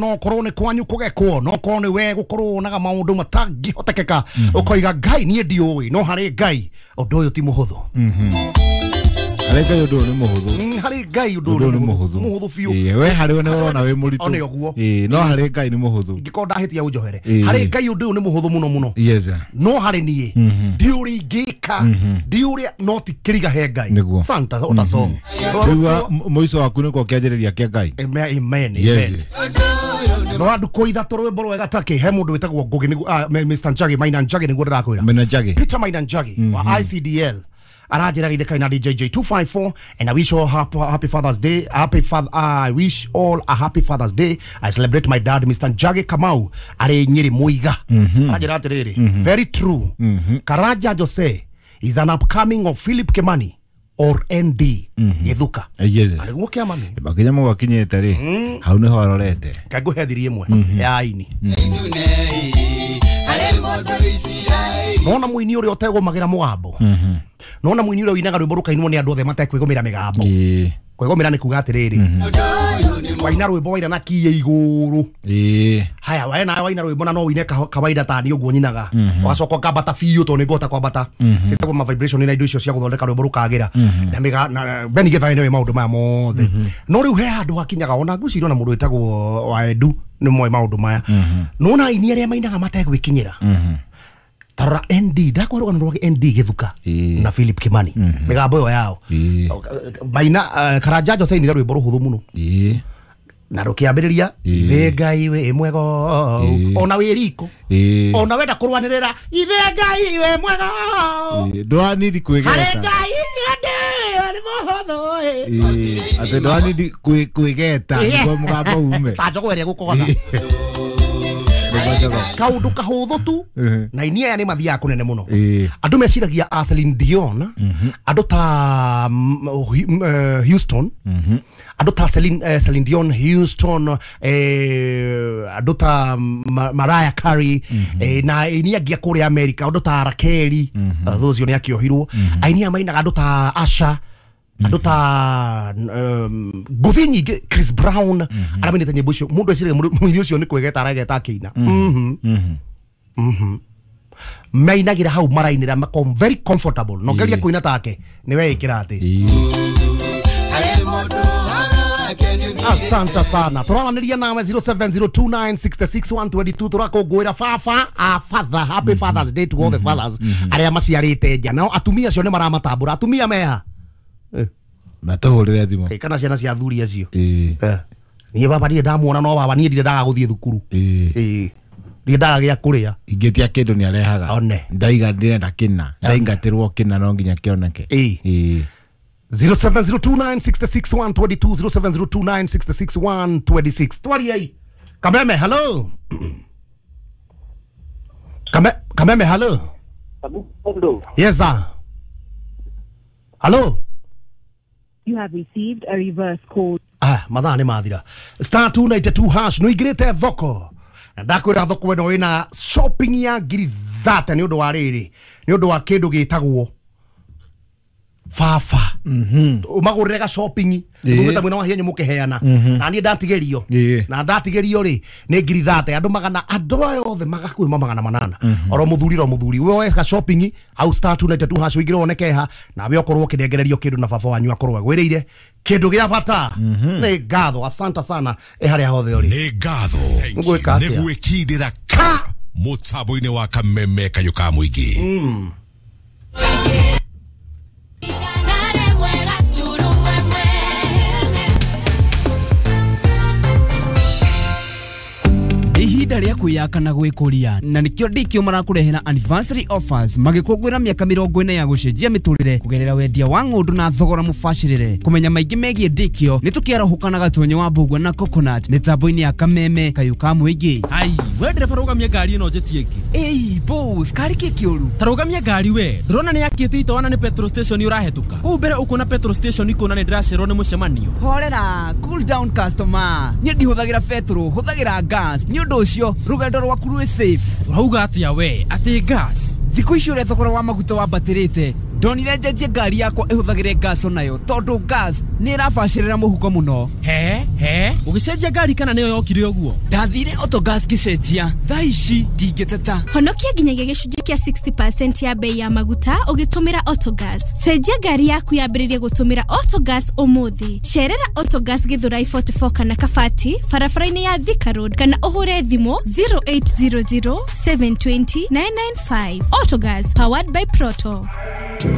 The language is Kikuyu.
No korwo nĩ kwanyu kũgekwo, no korwo nĩ we gũkorwo wonaga maũndũ matangĩhotekeka, ũkoiga Ngai niĩ ndiũĩ, no harĩ Ngai ũndũ ũyũ ti mũhũthũ. Harĩ Ngai ũndũ ũyũ nĩ mũhũthũ. Harĩ Ngai ũndũ ũyũ nĩ mũhũthũ mũhũthũ biũ. Ĩĩ, we harĩ we nĩ ũrona wĩ mũritũ. One ũguo. Ĩĩ, no harĩ Ngai nĩ mũhũthũ. Ingĩkorwo ndahĩtia ũnjohere. Harĩ Ngai ũndũ ũyũ nĩ mũhũthũ mũno mũno. Yes. No harĩ niĩ ndiũĩ ũrĩa ingĩka, ndiũĩ ũrĩa, no ti kĩriga he Ngai. Nĩguo. Santa ota song. Rĩu mũico waku nĩkuo kĩanjĩrĩria kĩa Ngai. Amen, amen. Yes. No andukũ ithatũ rwĩmbo rwega take he mũndũ wĩtagwo Ngũgĩ nĩguo Mr Njagi, Maina Njagi nĩguo ndĩrakwĩra. Maina Njagi. Peter Maina Njagi wa ICDL aranjĩra githĩ na DJ J254 and I wish all happy, happy Father's Day. Happy father, I wish all a happy Father's Day. I celebrate my dad Mr Njagi Kamau arĩ Nyĩrĩ Mũiga. Aranjĩra atĩrĩrĩ, very true. Karanja Jose is an upcoming of Philip Kimani or ND Githuka. Yes. Arĩguo kĩamani. Makinya mau akinyĩte rĩ, hau nĩho arorete. Kaingũhe thiri ĩmwe ya aini. Nona mũini ũrĩa ũtegũmagĩra mũgambo. Nona mũini ũrĩa ũinaga rwĩmbo rũkainwo nĩ andũ othe matekwĩgũmĩra mĩgambo. Kwĩgũmĩra nĩ kuga atĩrĩrĩ, waina rwĩmbo waina na kiĩ igũrũ. Haya, we nawe waina rwĩmbo na no ũine kawaida ta niĩ ũguo nyinaga. Ũgacoka ũkambata biũ tondũ nĩngũhota kwambata. Ciĩtagwo ma vibration na indo icio cia gũthondeka rwĩmbo rũkagĩra. Na mĩga na Benny Githae nĩoĩ maũndũ maya mothe. No rĩu he handũ hakinyaga ona ngwĩciria ona mũndũ wĩtagwo Waendu nĩ moĩ maũndũ maya. Nona aini arĩa mainaga mategwĩkinyĩra. Tarora ND ndakwa rũgano rwa ND Githuka na Philip Kimani mĩgambo ĩyo yao maina. Karanja Jose ainire rwĩmbo rũhũthũ mũno na rũkĩambĩrĩria ithe Ngai wĩ mwega ona wĩ riko ona wenda kũrũanĩrĩra ithe Ngai wĩ mwega ndũranidi kwĩgeta harĩ Ngai nĩ mũhũthũ. Atĩ ndũranidi kwĩgeta nĩguo mũgambo ume ta njogo ĩrĩa gũkogotha kaundu kahũthũ tu na inia aya nĩ mathiaga kũnene mũno. Andũ meciragia a Celine Dion, andũ ta Houston, andũ ta Celine Dion, Houston, andũ ta Mariah Carey, na aini angĩ a kũrĩa America, andũ ta Rakeli, thũ ũcio nĩ akĩohirwo. Aini aya mainaga andũ ta Asha, andũ ta ngũthi nyingĩ, Chris Brown, arĩa mainĩte nyĩmbo icio. Mũndũ eciragia mũini ũcio nĩ kwĩgeta aregeta akĩina. Mainagĩra hau marainĩra mako very comfortable. No geria kũina take nĩ weĩkĩra atĩ. Asante sana. Tũraranĩria nawe 0702966122 tũrakũngũĩra baba a father. Happy Father's Day to all the fathers arĩa maciarĩte nja. Nao atumia acio nĩ maramatambũra. Atumia meha matũhũrĩre thimũ kana ciana cia athuri acio. Niĩ baba ndirĩ ndamuona, no baba niĩ ndirĩ ndaga gũthiĩ thukuru. Ndirĩ ndaga gĩa kũrĩa. Ingĩtia kĩndũ nĩ arehaga. One. Ndaiga ndĩrenda kĩna, ndaingatĩrwo kĩna no nginya kĩoneke. 0702966122 0702966126. Twariai. Kameme, hello. Kameme, hello. Yes sir. Hello. You have received a reverse call. Mathaa nĩ mathira. Star 292 hash nĩ ũingĩrĩte thoko. Na ndakwĩra thoko ĩno ĩna shopping ya ngiri 30 nĩ ũndũ wa rĩrĩ, nĩ ũndũ wa kĩndũ gĩtagwo baba. Ũmagũrĩre ga shopping, mũgĩta mwena wa hianyu mũkĩheana. Na niĩ ndatigĩrio. Na ndatigĩrio rĩ nĩ ngiri 30 andũ magana, andũ aya othe magakuĩ magana manana. Oro mũthuri ro mũthuri. Woe ga shopping hau star 292 hash ũingĩre wone keha nawe ũkorwo ũkĩnengererio kĩndũ na baba wanyu akorwo agwĩrĩire kĩndũ gĩa bata. Nĩ ngatho, asante sana ĩ harĩa hothe ũrĩ. Nĩ ngatho. Ngwĩka atĩa? Nĩ gwĩkindĩra ka mũtambo-inĩ wa Kameme kayũ ka mũingĩ. Ihinda rĩa kwĩyaka na gwĩkũria na nĩkĩo ndikĩo marakũrehera anniversary offers magĩkũngũĩra mĩaka 40 ya gũcenjia mĩtũrĩre kũgerera wendia wa ng'ũndũ na thogora mũbacĩrĩre. Kũmenya maingĩ megiĩ ndikĩo nĩ tũkĩarahũka na Gatonye wa Mbũgua na Coconut mĩtambo-inĩ ya Kameme kayũ ka mũingĩ. Ai, we ndereba rũgamia ngari ĩno njĩtie ĩngĩ. Ĩi boss, kari kĩ kĩũru? Ta rũgamia ngari we, ndũrona nĩ yakĩte itoana nĩ petrol station ũrahetũka. Kũu mbere ũkuona petrol station ikuona nĩ ndĩracererwo nĩ mũcemanio. Horera, cool down customer. Niĩ ndihũthagĩra petrol, hũthagĩra gas. Nĩ ũndũ ũcio rũgendo rwaku rwĩ safe. Ũrauga atĩa we? Atĩ gas? Thikũ ici ũrĩa thogora wa maguta wambatĩrĩte, Ndonire njenjie ngari yakwa ĩhũthagĩre gas onayo tondũ gas nĩ ĩrabacĩrĩra mũhuko mũno. He he, ũgĩcenjia ngari kana nĩyo yokire ũguo? Ndathire Autogas ngĩcenjia, thaa ici ndingĩteta. Honokia nginyagia gĩcunjĩ kĩa 60% ya bei ya maguta ũgĩtũmĩra Autogas. Cenjia ngari yaku yambĩrĩrie gũtũmĩra Autogas ũmũthĩ. Cerera Autogas Githurai 44 kana Kabati barabara-inĩ ya Thika Road kana ũhũre thimũ 0800 720 995. Autogas powered by Proto.